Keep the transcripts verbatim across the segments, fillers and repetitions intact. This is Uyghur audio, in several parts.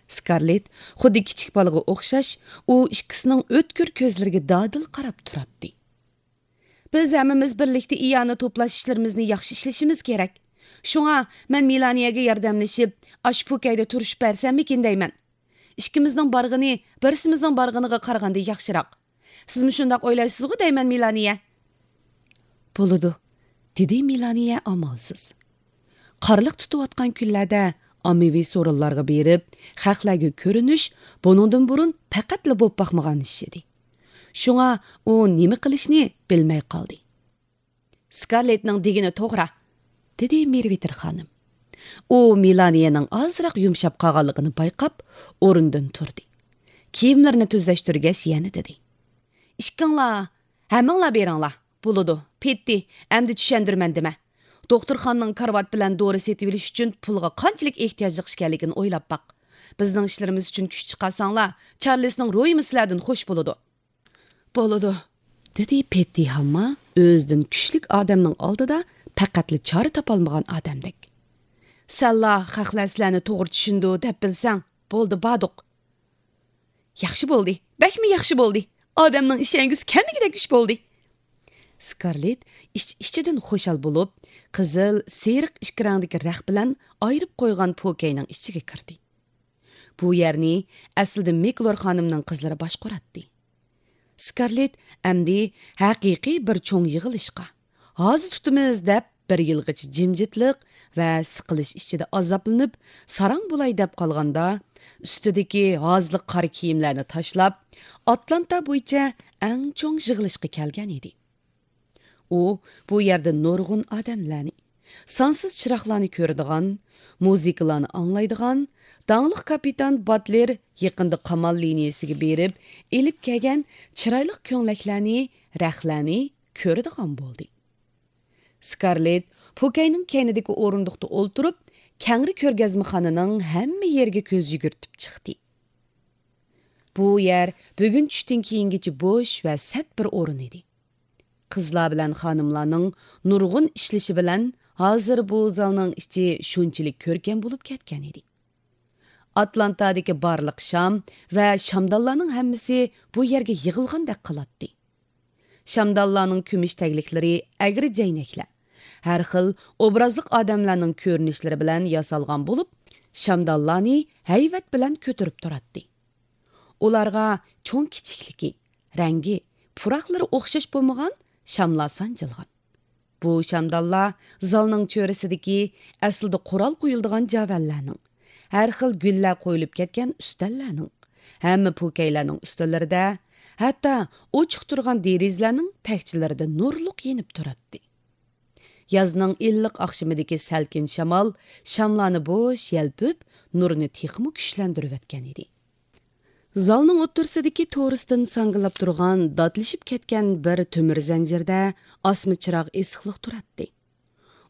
سكارلېت خۇددى كىچىك بالىغا ئوخشاش، ئۇ ئىككىسىنىڭ ئۆتكۈر كۆزلىرىگە دادىل قاراپ تۇراتتى. بىز ھەممىمىز بىرلىكتە ئىئانە توپلاش ئىشلىرىمىزنى ياخشى ئىشلىشىمىز كېرەك. شۇڭا مەن مېلانىيەگە ياردەملىشىپ، ئاشۇ پوكەيدە تۇرۇشۇپ بەرسەممىكىن دەيمەن. ئىككىمىزنىڭ بارغىنى بىرسىمىزنىڭ بارغىنىغا قارىغاندا ياخشىراق. سىزمۇ شۇنداق ئويلايسىزغۇ دەيمەن، مېلانىيە؟ بولىدۇ، دېدى مېلانىيە ئامالسىز. قارلىق تۇتۇۋاتقان كۈنلەردە ئاممىۋى سورۇنلارغا بېرىپ، خەقلەرگە كۆرۈنۈش بۇنىڭدىن بۇرۇن پەقەتلا بولۇپ باقمىغان ئىش ئىدى. شۇڭا ئۇ نېمە قىلىشنى بىلمەي قالدى. سكارلېتنىڭ دېگىنى توغرا، دېدى مېرۋىتېر خانىم. ئۇ مېلانىيەنىڭ ئازراق يۇمشاپ قالغانلىقىنى بايقاپ، ئورنىدىن تۇردى. كىيىملىرىنى تۈزەشتۈرگەچ يەنە دېدى. ئىككىڭلار، ھەممىڭلار بېرىڭلار. بولىدۇ، پېتتى، ئەمدى چۈشەندۈرىمەن دېمە. دوختۇرخانىنىڭ كارىۋات بىلەن دورا سېتىۋېلىش ئۈچۈن پۇلغا قانچىلىك ئېھتىياجلىق ئىكەنلىكىنى ئويلاپ باق. بىزنىڭ ئىشلىرىمىز ئۈچۈن كۈچ چىقارساڭلار، چارلىسنىڭ رويىمۇ سىلەردىن خوش بولىدۇ. بولىدۇ، دېدى پېتتى ھامما ئۆزىدىن كۈچلۈك ئادەمنىڭ ئالدىدا پەقەتلا چارە تاپالمىغان ئادەمدەك. سەنلا خەقلەر سىلەرنى توغرا چۈشىنىدۇ دەپ بىلسەڭ، بولدى، باردۇق. ياخشى بولدى، بەكمۇ ياخشى بولدى. ئادەمنىڭ ئىشەنگۈسى كەلمىگۈدەك ئىش بولدى. سكارلېت ئىچ-ئىچىدىن خۇشال بولۇپ، قىزىل، سېرىق ئىككى رەڭدىكى رەخ بىلەن ئايرىپ قويغان پوكەينىڭ ئىچىگە كىردى. بۇ يەرنى ئەسلىدە مىكلور خانىمنىڭ قىزلىرى باشقۇراتتى. سكارلېت ئەمدى ھەقىقىي بىر چوڭ يىغىلىشقا، ھازا تۇتىمىز دەپ بىر يىلغىچە جىمجىتلىق ۋە سىقىلىش ئىچىدە ئازابلىنىپ، ساراڭ بولاي دەپ قالغاندا، ئۈستىدىكى ھازىلىق قارا كىيىملەرنى تاشلاپ، ئاتلانتا بويىچە ئەڭ چوڭ يىغىلىشقا كەلگەن ئىدى. ئۇ بۇ يەردە نۇرغۇن ئادەملەرنى، سانسىز چىراغلارنى كۆرىدىغان، مۇزىكىلارنى ئاڭلايدىغان، داڭلىق كاپىتان باتلېر يېقىندا قامال لىنىيىسىگە بېرىپ ئېلىپ كەلگەن چىرايلىق كۆڭلەكلەرنى، رەخلەرنى كۆرىدىغان بولدى. سكارلېت پوكەينىڭ كەينىدىكى ئورۇندۇقتا ئولتۇرۇپ، كەڭرى كۆرگەزمىخانىنىڭ ھەممە يېرىگە كۆز يۈگۈرتۈپ چىقتى. بۇ يەر بۈگۈن چۈشتىن كېيىنگىچە بوش ۋە سەت بىر ئورۇن ئىدى. قىزلار بىلەن خانىملارنىڭ نۇرغۇن ئىشلىشى بىلەن ھازىر بۇ زالنىڭ ئىچى شۇنچىلىك كۆركەم بولۇپ كەتكەن ئىدى. ئاتلانتادىكى بارلىق شام ۋە شامدانلارنىڭ ھەممىسى بۇ يەرگە يىغىلغاندەك قىلاتتى. شامدانلارنىڭ كۈمۈش تەگلىكلىرى ئەگرى جەينەكلەر، ھەر خىل ئوبرازلىق ئادەملەرنىڭ كۆرۈنۈشلىرى بىلەن ياسالغان بولۇپ، شامدانلارنى ھەيۋەت بىلەن كۆتۈرۈپ تۇراتتى. ئۇلارغا چوڭ كىچىكلىكى، رەڭگى، پۇراقلىرى ئوخشاش بولمىغان شاملار سانجىلغان. بۇ شامدانلار زالنىڭ چۆرىسىدىكى ئەسلىدە قورال قويۇلىدىغان جاۋەنلەرنىڭ، ھەر خىل گۈللەر قويۇلۇپ كەتكەن ئۈستەللەرنىڭ، ھەممە پوكەيلەرنىڭ ئۈستەللىرىدە، ھەتتا ئوچۇق تۇرغان دېرىزىلەرنىڭ تەكچىلىرىدە نۇرلۇق يېنىپ تۇراتتى. يازنىڭ ئىللىق ئاخشىمىدىكى سەلكىن شامال شاملارنى بوش يەلپۈپ، نۇرنى تېخىمۇ كۈچلەندۈرۈۋەتكەن ئىدى. زالنىڭ ئوتتۇرىسىدىكى تورۇستىن ساڭگىلاپ تۇرغان داتلىشىپ كەتكەن بىر تۆمۈر زەنجىردە ئاسما چىراغ ئېسىقلىق تۇراتتى.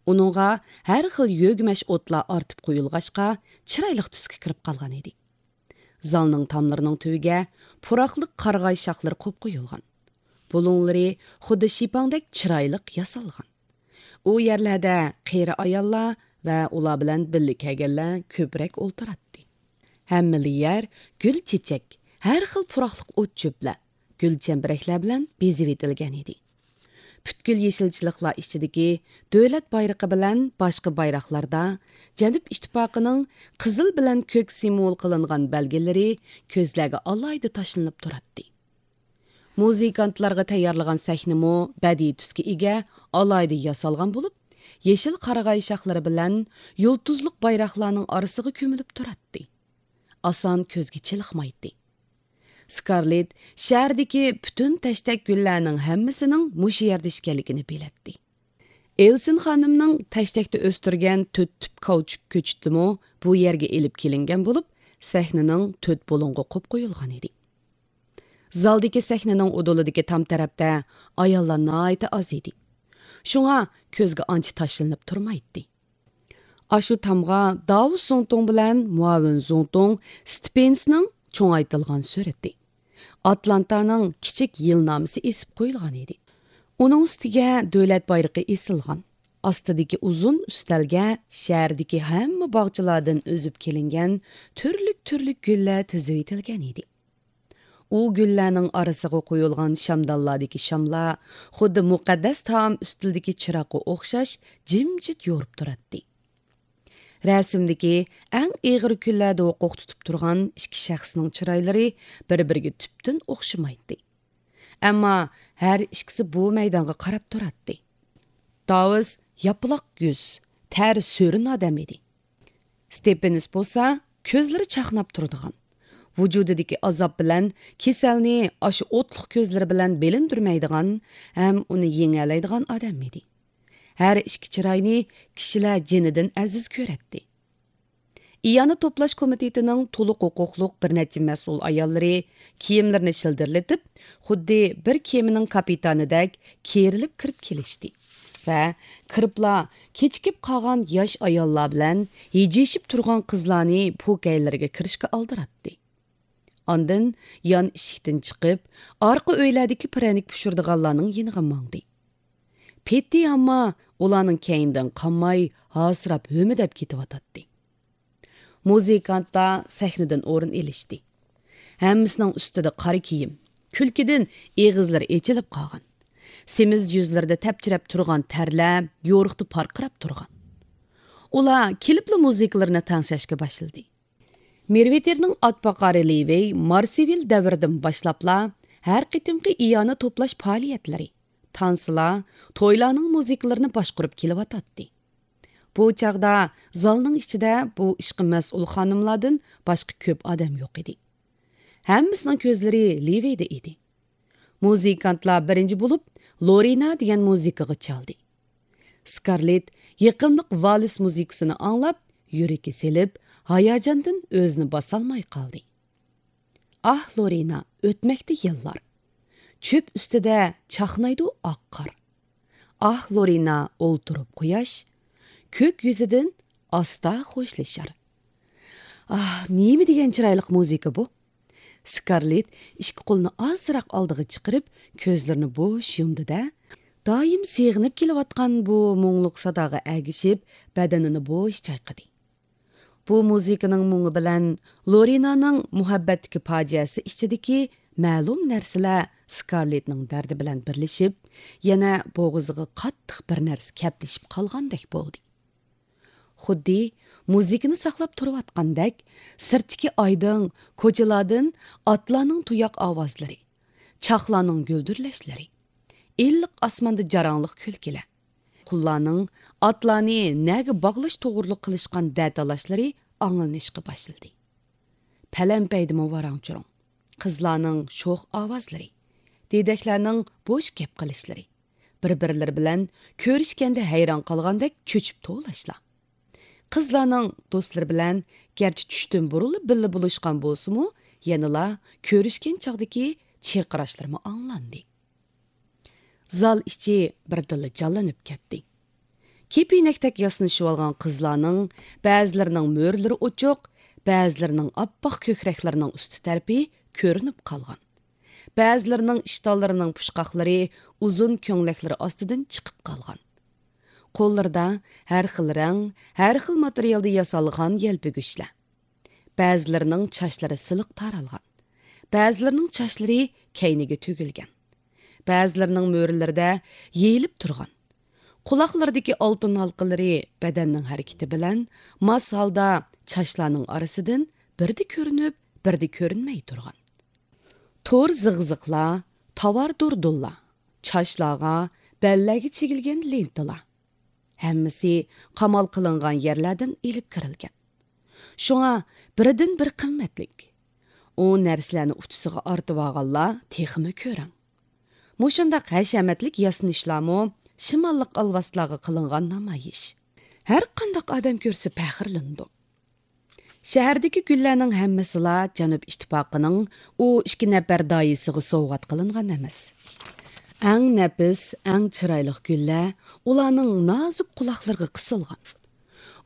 ئۇنىڭغا ھەر خىل يۆگىمەش ئوتلار ئارتىپ قويۇلغاچقا، چىرايلىق تۈسكە كىرىپ قالغان ئىدى. زالنىڭ تاملىرىنىڭ تۈۋىگە پۇراقلىق قارىغاي شاخلىرى قوپ قويۇلغان. بۇلۇڭلىرى خۇددى شىپاڭدەك چىرايلىق ياسالغان. ئۇ يەرلەردە قېرى ئاياللار ۋە ئۇلار بىلەن بىللە كەلگەنلەر كۆپرەك ئولتۇراتتى. ھەممىلا يەر گۈل چېچەك، ھەر خىل پۇراقلىق ئوت چۆپلەر، گۈل چەمبىرەكلەر بىلەن بېزىۋېتىلگەن ئىدى. پۈتكۈل يېشىلچىلىقلار ئىچىدىكى دۆلەت بايرىقى بىلەن باشقا بايراقلاردا جەنۇب ئىتتىپاقىنىڭ قىزىل بىلەن كۆك سىمۋول قىلىنغان بەلگىلىرى كۆزلەرگە ئالاھىدە تاشلىنىپ تۇراتتى. مۇزىكانتلارغا تەييارلىغان سەھنىمۇ بەدىئىي تۈسكە ئىگە، ئالاھىدە ياسالغان بولۇپ، يېشىل قارىغاي شاخلىرى بىلەن يۇلتۇزلۇق بايراقلارنىڭ ئارىسىغا كۆمۈلۈپ تۇراتتى. ئاسان كۆزگە چېلىقمايتتى. سكارلېت شەھەردىكى پۈتۈن تەشتەك گۈللەرنىڭ ھەممىسىنىڭ مۇشۇ يەردە ئىكەنلىكىنى بىلەتتى. ئېلسىن خانىمنىڭ تەشتەكتە ئۆستۈرگەن تۆت تۈپ كاۋچۇك كۆچىتىمۇ بۇ يەرگە ئېلىپ كېلىنگەن بولۇپ، سەھنىنىڭ تۆت بۇلۇڭىغا قوپ قويۇلغان ئىدى. زالدىكى سەھنىنىڭ ئۇدۇلىدىكى تام تەرەپتە ئاياللار ناھايىتى ئاز ئىدى. شۇڭا كۆزگە ئانچە تاشلىنىپ تۇرمايتتى. ئاشۇ تامغا داۋۇس زۇڭتۇڭ بىلەن مۇئاۋىن زۇڭتۇڭ ستىپېنسنىڭ چوڭايتىلغان سۈرىتى، ئاتلانتانىڭ كىچىك يىلنامىسى ئېسىپ قويۇلغان ئىدى. ئۇنىڭ ئۈستىگە دۆلەت بايرىقى ئېسىلغان. ئاستىدىكى ئۇزۇن ئۈستەلگە شەھەردىكى ھەممە باغچىلاردىن ئۈزۈپ كېلىنگەن تۈرلۈك-تۈرلۈك گۈللەر تىزىۋېتىلگەن ئىدى. ئۇ گۈللەرنىڭ ئارىسىغا قويۇلغان شامدانلاردىكى شاملار خۇددى مۇقەددەس تائام ئۈستىلىدىكى چىراغقا ئوخشاش جىمجىت يورۇپ تۇراتتى. رەسىمدىكى ئەڭ ئېغىر كۈنلەردە ھوقۇق تۇتۇپ تۇرغان ئىككى شەخسنىڭ چىرايلىرى بىر-بىرىگە تۈپتىن ئوخشىمايتتى. ئەمما ھەر ئىككىسى بۇ مەيدانغا قاراپ تۇراتتى. داۋىس ياپىلاق يۈز، تەر سۆرۈن ئادەم ئىدى. ستېپىنس بولسا كۆزلىرى چاقناپ تۇرىدىغان، ۋۇجۇدىدىكى ئازاب بىلەن كېسەلنى ئاشۇ ئوتلۇق كۆزلىرى بىلەن بىلىندۈرمەيدىغان ھەم ئۇنى يېڭەلەيدىغان ئادەم ئىدى. ھەر ئىككى چىراينى كىشىلەر جېنىدىن ئەزىز كۆرەتتى. ئىئانە توپلاش كومىتېتىنىڭ تولۇق ھوقۇقلۇق بىر نەچچە مەسئۇل ئاياللىرى كىيىملىرىنى شىلدىرلىتىپ، خۇددى بىر كېمىنىڭ كاپىتانىدەك كېرىلىپ كىرىپ كېلىشتى ۋە كىرىپلا كېچىكىپ قالغان ياش ئاياللار بىلەن ھىجىيىشىپ تۇرغان قىزلارنى پوكەيلىرىگە كىرىشكە ئالدىراتتى. ئاندىن يان ئىشىكتىن چىقىپ، ئارقا ئۆيلەردىكى پىرەنىك پىشۇرىدىغانلارنىڭ يېنىغا ماڭدى. پېتى ئەمما ئۇلارنىڭ كەينىدىن قالماي، ھاسىراپ ھۆمۈدەپ كېتىۋاتاتتى. مۇزىكانتلار سەھنىدىن ئورۇن ئېلىشتى. ھەممىسىنىڭ ئۈستىدە قارا كىيىم، كۈلكىدىن ئېغىزلىرى ئېچىلىپ قالغان. سېمىز يۈزلىرىدە تەپچىرەپ تۇرغان تەرلەر يورۇقتا پارقىراپ تۇرغان. ئۇلار كېلىپلا مۇزىكىلىرىنى تەڭشەشكە باشلىدى. مېرۋىتېرنىڭ ئاتباقارى لىۋېي مارسېۋىل دەۋرىدىن باشلاپلا ھەر قېتىمقى ئىئانە توپلاش پائالىيەتلىرى، تانسىلار، تويلارنىڭ مۇزىكىلىرىنى باشقۇرۇپ كېلىۋاتاتتى. بۇ چاغدا زالنىڭ ئىچىدە بۇ ئىشقا مەسئۇل خانىملاردىن باشقا كۆپ ئادەم يوق ئىدى. ھەممىسىنىڭ كۆزلىرى لىۋېيدا ئىدى. مۇزىكانتلار بىرىنچى بولۇپ لورىنا دېگەن مۇزىكىغا چالدى. سكارلېت يېقىملىق ۋالىس مۇزىكىسىنى ئاڭلاپ، يۈرىكى سېلىپ، ھاياجاندىن ئۆزىنى باسالماي قالدى. ئاھ، لورىنا، ئۆتمەكتە يىللار. چۆپ ئۈستىدە چاقنايدۇ ئاق قار. ئاھ، لورىنا، ئولتۇرۇپ قۇياش، كۆك يۈزىدىن ئاستا خوشلىشار. ئاھ، نېمە دېگەن چىرايلىق مۇزىكا بۇ! سكارلېت ئىككى قولىنى ئازراق ئالدىغا چىقىرىپ، كۆزلىرىنى بوش يۇمدى-دە، دائىم سېغىنىپ كېلىۋاتقان بۇ مۇڭلۇق ساداغا ئەگىشىپ، بەدىنىنى بوش چايقىدى. بۇ مۇزىكىنىڭ مۇڭى بىلەن لورىنانىڭ مۇھەببەتتىكى پاجىئەسى ئىچىدىكى مەلۇم نەرسىلەر سكارلېتنىڭ دەردى بىلەن بىرلىشىپ، يەنە بوغۇزىغا قاتتىق بىر نەرسە كەپلىشىپ قالغاندەك بولدى. خۇددى مۇزىكىنى ساقلاپ تۇرۇۋاتقاندەك، سىرتتىكى ئايدىڭ، كوچىلاردىن ئاتلارنىڭ تۇياق ئاۋازلىرى، چاقلارنىڭ گۈلدۈرلەشلىرى، ئىللىق ئاسماندا جاراڭلىق كۈلكىلەر، قۇللارنىڭ ئاتلارنى نەگە باغلاش توغرۇلۇق قىلىشقان دەتالاشلىرى ئاڭلىنىشقا باشلىدى. پەلەمپەيدىمۇ ۋاراڭ-چۇرۇڭ، قىزلارنىڭ شوخ ئاۋازلىرى، دېدەكلەرنىڭ بوش گەپ قىلىشلىرى، بىر-بىرلىرى بىلەن كۆرۈشكەندە ھەيران قالغاندەك چۆچۈپ توۋلاشلار. قىزلارنىڭ دوستلىرى بىلەن گەرچە چۈشتىن بۇرۇنلا بىللە بولۇشقان بولسىمۇ، يەنىلا كۆرۈشكەن چاغدىكى چىرقىراشلىرىمۇ ئاڭلاندى. زال ئىچى بىردىنلا جانلىنىپ كەتتى. كېپىنەكتەك ياسىنىشىۋالغان قىزلارنىڭ بەزىلىرىنىڭ مۈرىلىرى ئوچۇق، بەزىلىرىنىڭ ئاپئاق كۆكرەكلىرىنىڭ ئۈستى تەرىپى كۆرۈنۈپ قالغان. بەزىلىرىنىڭ ئىشتانلىرىنىڭ پۇچقاقلىرى ئۇزۇن كۆڭلەكلىرى ئاستىدىن چىقىپ قالغان. قوللىرىدا ھەر خىل رەڭ، ھەر خىل ماتېرىيالدا ياسالغان يەلپۈگۈچلەر. بەزىلىرىنىڭ چاچلىرى سىلىق تارالغان. بەزىلىرىنىڭ چاچلىرى كەينىگە تۆگۈلگەن. بەزىلىرىنىڭ مۈرىلىرىدە يېيىلىپ تۇرغان. قۇلاقلىرىدىكى ئالتۇن ھالقىلىرى بەدەننىڭ ھەرىكىتى بىلەن ماس ھالدا چاچلارنىڭ ئارىسىدىن بىردە كۆرۈنۈپ، بىردە كۆرۈنمەي تۇرغان. تور زىغزىغلار، تاۋار دۇردۇنلار، چاچلارغا، بەللەرگە چىگىلگەن لېنتىلار. ھەممىسى قامال قىلىنغان يەرلەردىن ئېلىپ كىرىلگەن. شۇڭا بىردىن بىر قىممەتلىك. ئۇ نەرسىلەرنى ئۇچىسىغا ئارتىۋالغانلار تېخىمۇ كۆرەڭ. مۇشۇنداق ھەشەمەتلىك ياسىنىشلارمۇ شىماللىق ئالۋاستىلارغا قىلىنغان نامايىش. ھەر قانداق ئادەم كۆرسە پەخىرلىنىدۇ. شەھەردىكى گۈللەرنىڭ ھەممىسىلا جەنۇب ئىتتىپاقىنىڭ ئۇ ئىككى نەپەر داھىيسىغا سوۋغات قىلىنغان ئەمەس. ئەڭ نەپىس، ئەڭ چىرايلىق گۈللەر ئۇلارنىڭ نازۇك قۇلاقلىرىغا قىسىلغان.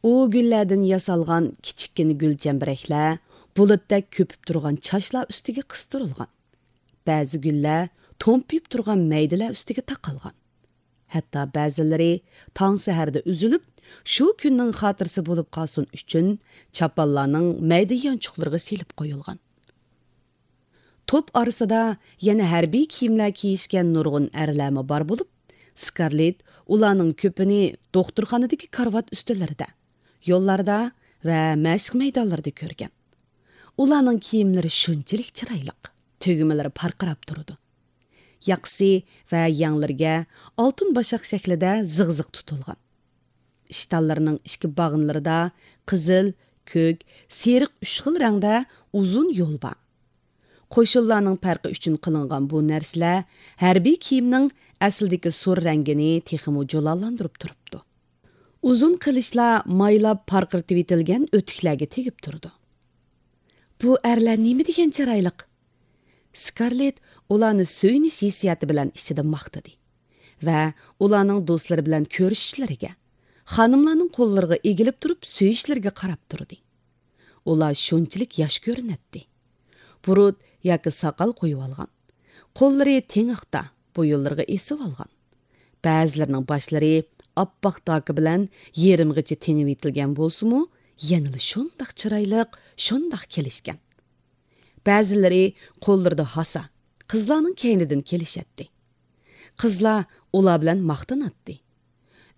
ئۇ گۈللەردىن ياسالغان كىچىككىنە گۈلچەمبىرەكلەر بۇلۇتتەك كۆپۈپ تۇرغان چاچلار ئۈستىگە قىستۇرۇلغان. بەزى گۈللەر تومپىيىپ تۇرغان مەيدىلەر ئۈستىگە تاقالغان. ھەتتا بەزىلىرى تاڭ سەھەردە ئۈزۈلۈپ، شۇ كۈننىڭ خاتىرىسى بولۇپ قالسۇن ئۈچۈن، چاپانلارنىڭ مەيدە يانچۇقلىرىغا سېلىپ قويۇلغان. توپ ئارىسىدا يەنە ھەربىي كىيىملەر كىيىشكەن نۇرغۇن ئەرلەرمۇ بار بولۇپ، سكارلېت ئۇلارنىڭ كۆپىنى دوختۇرخانىدىكى كارىۋات ئۈستىلىرىدە، يوللاردا ۋە مەشىق مەيدانلىرىدا كۆرگەن. ئۇلارنىڭ كىيىملىرى شۇنچىلىك چىرايلىق، تۈگمىلىرى پارقىراپ تۇرىدۇ. ياقىسى ۋە يەڭلىرىگە ئالتۇن باشاق شەكلىدە زىغزىغ تۇتۇلغان. ئىشتانلىرىنىڭ ئىچكى باغنىلىرىدا قىزىل، كۆك، سېرىق ئۈچ خىل رەڭدە ئۇزۇن يول بار. قوشۇنلارنىڭ پەرقى ئۈچۈن قىلىنغان بۇ نەرسىلەر ھەربىي كىيىمنىڭ ئەسلىدىكى سور رەڭگىنى تېخىمۇ جۇلالاندۇرۇپ تۇرۇپتۇ. ئۇزۇن قىلىچلار مايلاپ پارقىرىتىۋېتىلگەن ئۆتۈكلەرگە تېگىپ تۇرىدۇ. بۇ ئەرلەر نېمە دېگەن چىرايلىق! سكارلېت ئۇلارنى سۆيۈنۈش ھېسسىياتى بىلەن ئىچىدە ماختىدى ۋە ئۇلارنىڭ دوستلىرى بىلەن كۆرۈشۈشلىرىگە، خانىملارنىڭ قوللىرىغا ئېگىلىپ تۇرۇپ سۆيۈشلىرىگە قاراپ تۇردى. ئۇلار شۇنچىلىك ياش كۆرۈنەتتى. بۇرۇت ياكى ساقال قويۇۋالغان. قوللىرى تېڭىقتا، بويۇنلىرىغا ئېسىۋالغان. بەزىلىرىنىڭ باشلىرى ئاپئاق داكا بىلەن يېرىمغىچە تېڭىۋېتىلگەن بولسىمۇ، يەنىلا شۇنداق چىرايلىق، شۇنداق كېلىشكەن. بەزىلىرى قوللىرىدا ھاسا، قىزلارنىڭ كەينىدىن كېلىشەتتى. قىزلار ئۇلار بىلەن ماختىناتتى.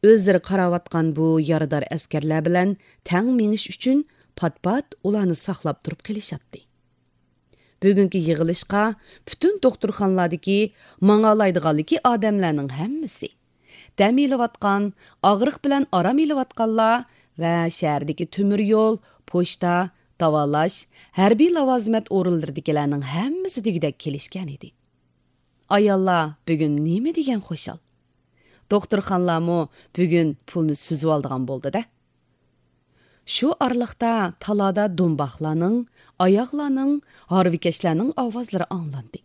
ئۆزلىرى قاراۋاتقان بۇ يارىدار ئەسكەرلەر بىلەن تەڭ مېڭىش ئۈچۈن پات-پات ئۇلارنى ساقلاپ تۇرۇپ قېلىشاتتى. بۈگۈنكى يىغىلىشقا پۈتۈن دوختۇرخانىلاردىكى ماڭالايدىغانلىكى ئادەملەرنىڭ ھەممىسى، دەم ئېلىۋاتقان، ئاغرىق بىلەن ئارام ئېلىۋاتقانلار ۋە شەھەردىكى تۆمۈر يول، پوچتا، داۋالاش، ھەربىي لاۋازىمەت ئورۇنلىرىدىكىلەرنىڭ ھەممىسى دېگۈدەك كېلىشكەنىدى. ئاياللار بۈگۈن نېمە دېگەن خۇشال! دوختۇرخانىلارمۇ بۈگۈن پۇلنى سۈزۈۋالىدىغان بولدى-دە. شۇ ئارىلىقتا تالادا دۇمباقلارنىڭ، ئاياغلارنىڭ، ھارۋىكەشلەرنىڭ ئاۋازلىرى ئاڭلاندى.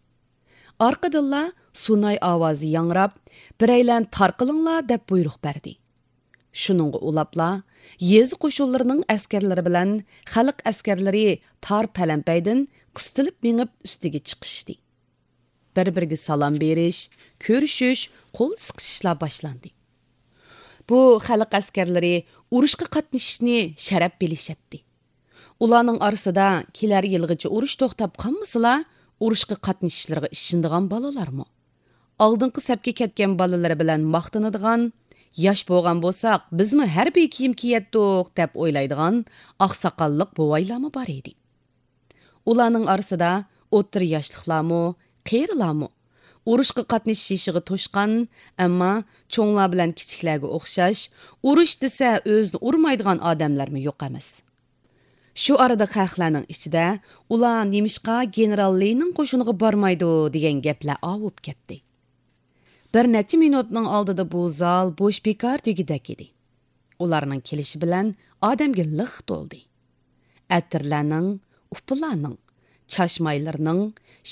ئارقىدىنلا سۇناي ئاۋازى ياڭراپ، «بىرەيلەن تارقىلىڭلار!» دەپ بۇيرۇق بەردى. شۇنىڭغا ئۇلاپلا، يېزا قوشۇنلىرىنىڭ ئەسكەرلىرى بىلەن خەلق ئەسكەرلىرى تار پەلەمپەيدىن قىستىلىپ مېڭىپ ئۈستىگە چىقىشتى. بىر-بىرىگە سالام بېرىش، كۆرۈشۈش، قول سىقىشىشلار باشلاندى. بۇ خەلق ئەسكەرلىرى ئۇرۇشقا قاتنىشىشنى شەرەپ بىلىشەتتى. ئۇلارنىڭ ئارىسىدا كېلەر يىلغىچە ئۇرۇش توختاپ قالمىسىلا، ئۇرۇشقا قاتنىشىشلىرىغا ئىشىنىدىغان بالىلارمۇ، ئالدىنقى سەپكە كەتكەن بالىلىرى بىلەن ماختىنىدىغان، ياش بولغان بولساق، بىزمۇ ھەربىي كىيىم كىيەتتۇق، دەپ ئويلايدىغان ئاقساقاللىق بوۋايلارمۇ بار ئىدى. ئۇلارنىڭ ئارىسىدا ئوتتۇرا ياشلىقلارمۇ، قېرىلارمۇ، ئۇرۇشقا قاتنىشىش يېشىغا توشقان، ئەمما چوڭلار بىلەن كىچىكلەرگە ئوخشاش، ئۇرۇش دېسە ئۆزىنى ئۇرمايدىغان ئادەملەرمۇ يوق ئەمەس. شۇ ئارىدا خەقلەرنىڭ ئىچىدە، «ئۇلار نېمىشقا گېنېرال لېنىن قوشۇنىغا بارمايدۇ؟» دېگەن گەپلەر ئاۋۇپ كەتتى. بىر نەچچە مىنۇتنىڭ ئالدىدا بۇ زال بوش بىكار دېگۈدەك ئىدى. ئۇلارنىڭ كېلىشى بىلەن ئادەمگە لىق تولدى. ئەتىرلەرنىڭ، ئۇپىلارنىڭ، چاچمايلىرىنىڭ،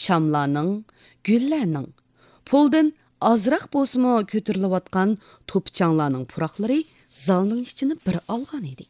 شاملارنىڭ، گۈللەرنىڭ، پۇلدىن ئازراق بولسىمۇ كۆتۈرۈلۈۋاتقان توپا-چاڭلارنىڭ پۇراقلىرى زالنىڭ ئىچىنى بىر ئالغان ئىدى.